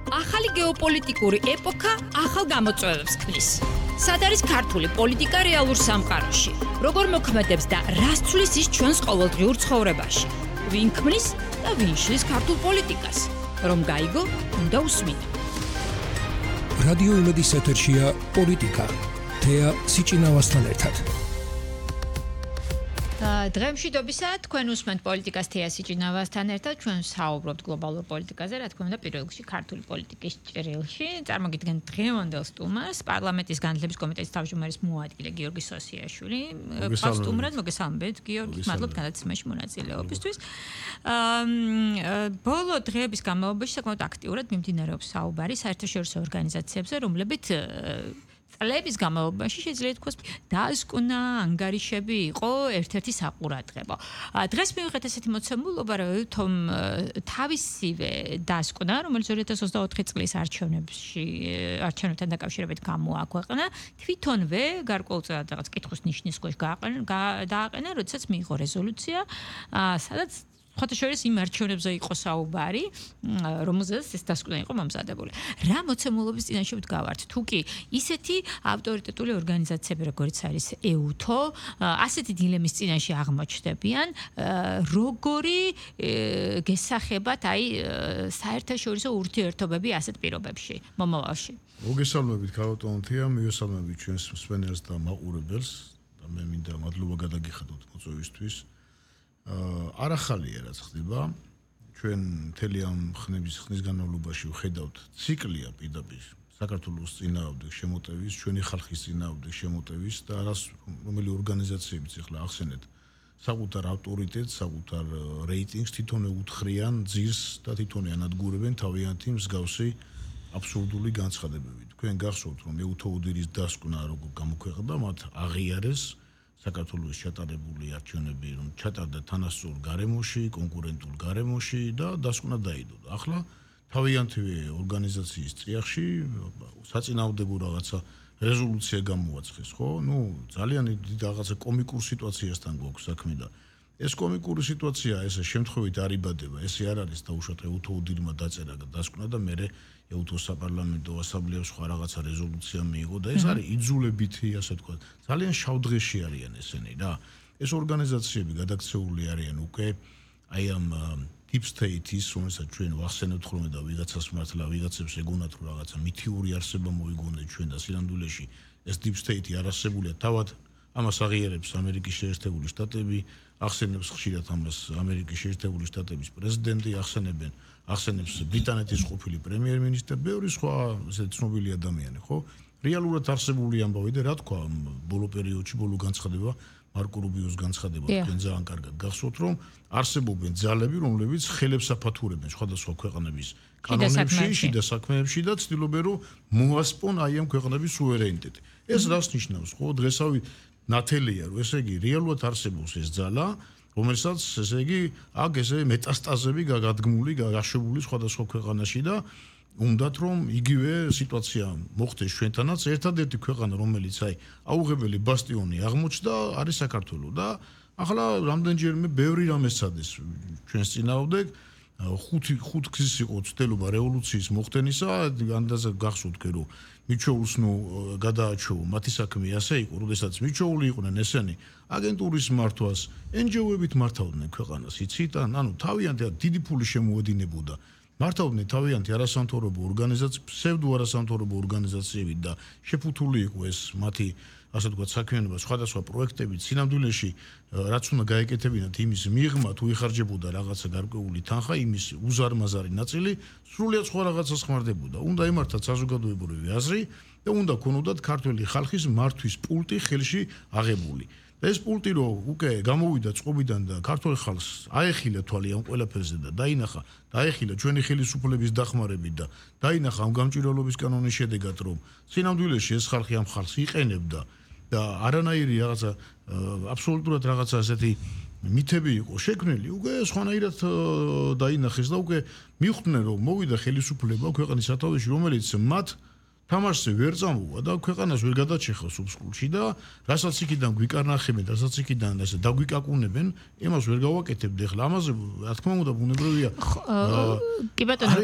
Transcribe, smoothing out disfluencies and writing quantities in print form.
ახალი გეოპოლიტიკური ეპოქა ახალ გამოწვევებს ქმნის. სად არის ქართული პოლიტიკა რეალურ სამყაროში? როგორ მოქმედებს და რას ცვლის ის ჩვენს ყოველდღიურ ცხოვრებაში? ვინ ქმნის და ვინ შლის ქართულ პოლიტიკას? რომ გაიგო, უნდა უსმინო. რადიო იმედის ეთერშია პოლიტიკა. თეა სიჭინავასთან ერთად. დღემშვიდობისა თქვენ უსმენთ პოლიტიკას თეა სიჭინავასთან ერთად. ჩვენ საუბრობთ გლობალურ პოლიტიკაზე, რა თქმა უნდა, პირველ რიგში ქართული პოლიტიკის ჭრილში. წარმოგიდგენთ დღევანდელ სტუმარს, პარლამენტის განათლების კომიტეტის თავმჯდომარის მოადგილე გიორგი სოსიაშვილი. სტუმრად მოგესალმებით, გიორგი, მადლობთ განაცემაში მონაწილეობისთვის. ბოლო დღეების განმავლობაში საკმაოდ აქტიურად მიმდინარეობს საუბარი საერთაშორისო ორგანიზაციებზე, რომლებიც წლების განმავლობაში შეიძლება ითქვას დასკვნა, ანგარიშები იყო ერთ-ერთი საყურადღებო. დღეს მივიღეთ ესეთი მოცემულობა, რომ თავისივე დასკვნა, რომელიც 2024 წლის არჩევნებთან დაკავშირებით გამოაქვეყნა, თვითონვე გარკვეულწილად რაღაც კითხვის ნიშნის ქვეშ დააყენა, როდესაც მიიღო რეზოლუცია, სადაც ხოთაშორის იმ არჩევნებზე იყო საუბარი, რომელზეც ეს დასკვნა იყო მომზადებული. რა მოცემულობის წინაშე ვდგავართ? თუ კი ისეთი ავტორიტეტული ორგანიზაციები, როგორც არის EUTO, ასეთი დილემის წინაშე აღმოჩნდებიან, როგორი გესახებათ საერთაშორისო ურთიერთობები ასეთ პირობებში მომავალში? მოგესალმებით, ქალბატონო თეა, მივესალმებით ჩვენს მსმენელს და მაყურებელს და მე მინდა მადლობა გადაგიხადოთ მოწვევისთვის. არ ახალია რაც ხდება, ჩვენ მთელი ამ ხნის განმავლობაში ვხედავთ ციკლია პირდაპირ საქართველოს წინააღმდეგ შემოტევის, ჩვენი ხალხის წინააღმდეგ შემოტევის და რომელი ორგანიზაციებიც ახლა ახსენეთ საკუთარ ავტორიტეტს, საკუთარ რეიტინგს თვითონ უთხრიან ძირს და თვითონ ანადგურებენ თავიანთი მსგავსი აბსურდული განცხადებებით. თქვენ გახსოვთ, რომ EUTO უდირის დასკვნა როგორ გამოქვეყნდა, მათ აღიარეს საქართველოს ჩატარებული არჩევნები, რომ ჩატარდა თანასწორ გარემოში, კონკურენტულ გარემოში და დასკვნა დაიდო. ახლა თავიანთი ორგანიზაციის წიაღში საწინააღმდეგო რაღაცა რეზოლუცია გამოაცხეს, ხო? ძალიან დიდი რაღაცა კომიკურ სიტუაციასთან გვაქვს საქმე და ეს კომიკური სიტუაცია ესე შემთხვევით არ იბადება. ესე არ არის დაუშვათ EUTO უდირმა დაწერა დასკვნა და მე EUTO საპარლამენტო ასამბლეამ სხვა რაღაცა რეზოლუცია მიიღო და ეს არის იძულებითი, ასე თქვა. ძალიან შავდღეში არიან ესენი რა. ეს ორგანიზაციები გადაქცეული არიან უკვე აი ამ deep state-ის, რომელსაც ჩვენ ვახსენებთ ხოლმე და ვიღაცას მართლა ვიღაცებს ეგონათ რომ რაღაცა მითიური არსება მოიგონეთ ჩვენ და სინამდვილეში ეს deep state-ი არ არსებულია თავად ამას აღიარებს ამერიკის შეერთებული შტატები, ახსენებს ხშირად ამას ამერიკის შეერთებული შტატების პრეზიდენტი, ახსენებს ბრიტანეთის ყოფილი პრემიერ-მინისტრი, ბევრი სხვა ესე ცნობილი ადამიანი, ხო? რეალურად არსებული ამბავი და რა თქვა ბოლო პერიოდში, ბოლო განცხადება, მარკო რუბიოს განცხადება, თქვენ ძალიან კარგად გახსოვთ, რომ არსებობენ ძალები, რომლებიც ხელებს აფათურებენ სხვადასხვა ქვეყნების კანონებში, შიდა საქმეებში და ცდილობენ, რომ მოასპონ აი ამ ქვეყნების სუვერენიტეტი. ეს რას ნიშნავს, ხო? დღესავით ნათელია, რომ ესე იგი რეალურად არსებობს ეს ძალა, რომელსაც ესე იგი აქ ესე მეტასტაზები გაგადგმული, გაშებული სხვადასხვა ქვეყანაში და უნდათ რომ იგივე სიტუაცია მოხდეს ჩვენთანაც. ერთადერთი ქვეყანა, რომელიც აუღებელი ბასტიონი აღმოჩნდა, არის საქართველო და ახლა რამდენჯერმე ბევრი რამე სცადეს ჩვენს წინააღმდეგ. ხუთ გზის იყო ცდელობა რევოლუციის მოხდენისა, ანდაზე გახსოვთ, რომ მიჩოულს გადააჩოვა მათი საქმე ასე იყო, როდესაც მიჩოული იყვნენ ესენი აგენტურის მართვას, NGO-ებით მართავდნენ ქვეყანას, იცით? ანუ თავიანთი დიდი ფული შემოედინებოდა. მართავდნენ თავიანთი არასამთავრობო ორგანიზაციები, ფსევდო არასამთავრობო ორგანიზაციები და შეფუთული იყო ეს მათი ასე ვთქვათ საქმიანობა სხვადასხვა პროექტებით. სინამდვილეში რაც უნდა გაეკეთებინათ იმის მიღმა თუ იხარჯებოდა რაღაცა გარკვეული თანხა, იმის უზარმაზარი ნაწილი სრულიად სხვა რაღაცას ხმარდებოდა. უნდა ემართათ საზოგადოებრივი აზრი და უნდა ქონოდათ ქართველი ხალხის მართვის პულტი ხელში აღებული. და ეს პულტი რო უკვე გამოვიდა წყობიდან და ქართველ ხალხს აეხილა თვალი ამ ყველაფერზე და დაეხილა ჩვენი ხელისუფლების დახმარებით და დაინახა ამ გამჭვირვალობის კანონის შედეგად, რომ სინამდვილეში ეს ხალხი ამ ხალხს იყენებდა და არანაირი რაღაცა აბსოლუტურად რაღაცა ასეთი მითები იყო შექმნილი, უკვე სხვანაირად დაინახეს და უკვე მიხვდნენ, რომ მოვიდა ხელისუფლება ქვეყნის სათავეში, რომელიც მათ თამაშზე ვერ წამოვა და ქვეყანას ვერ გადაჭეხავს უსკულში და რასაც იქიდან გვიკარნახებენ, რასაც იქიდან ასე დაგვიკაკუნებენ, იმას ვერ გავაკეთებთ ახლა. ამაზე რა თქმა უნდა ბუნებრივია. კი ბატონო.